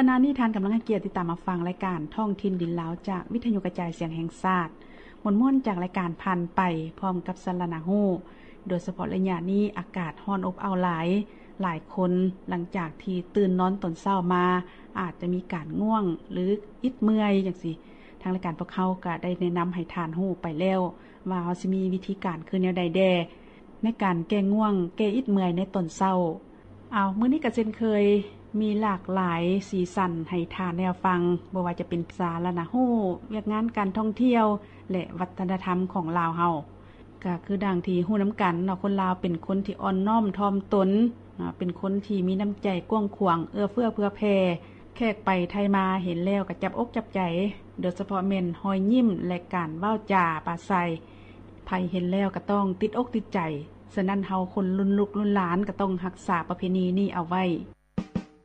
ຂະນະນີ້ທ່ານກຳລັງໃຫ້ກຽດຕິດຕາມຮັບຟັງລາຍການທ້ອງຖິ່ນດິນລາວ ຈາກວິທະຍຸກະຈາຍສຽງແຫ່ງຊາດ. ມ່ວນໆຈາກລາຍການຜ່ານໄປ ພ້ອມກັບສາລະນະຮູ້. ໂດຍສະເພາະໄລຍະນີ້ອາກາດຮ້ອນອົບເອົ້າຫຼາຍ, ຫຼາຍຄົນຫຼັງຈາກທີ່ຕື່ນນອນຕອນເຊົ້າມາ ອາດຈະມີການງ່ວງ ຫຼື ອິດເມື່ອຍຈັ່ງຊີ້. ທາງລາຍການພວກເຮົາກໍໄດ້ແນະນຳໃຫ້ທ່ານຮູ້ໄປແລ້ວ ວ່າເຮົາຊິມີວິທີການຄືແນວໃດແດ່ ໃນການແກ້ງ່ວງ ແກ້ອິດເມື່ອຍໃນຕອນເຊົ້າ. ເອົາ ມື້ນີ້ກໍເຊັ່ນເຄີຍ ມີຫຼາກຫຼາຍສີສັນໃຫ້ທ່ານໄດ້ຮັບຟັງ, ບໍ່ວ່າຈະເປັນສາລະນະຮູ້, ວຽກງານການທ່ອງທ່ຽວ ແລະ ວັດທະນະທຳຂອງລາວເຮົາ. ກໍຄືດັ່ງທີ່ຮູ້ນຳກັນເນາະ, ຄົນລາວເປັນຄົນທີ່ອ່ອນນ້ອມຖ່ອມຕົນ, ເປັນຄົນທີ່ມີນ້ຳໃຈກວ້າງຂວາງ, ເອື້ອເຟື້ອເຜື່ອແຜ່. ແຂກໄປໄທມາເຫັນແລ້ວກໍຈັບອົກຈັບໃຈ, ໂດຍສະເພາະແມ່ນຮອຍຍິ້ມ ແລະ ການເວົ້າຈາປາໄສ. ໃຜເຫັນແລ້ວກໍຕ້ອງຕິດອົກຕິດໃຈ. ສະນັ້ນເຮົາຄົນລຸ້ນລູກລຸ້ນຫຼານກໍຕ້ອງຮັກສາປະເພນີນີ້ເອົາໄວ້.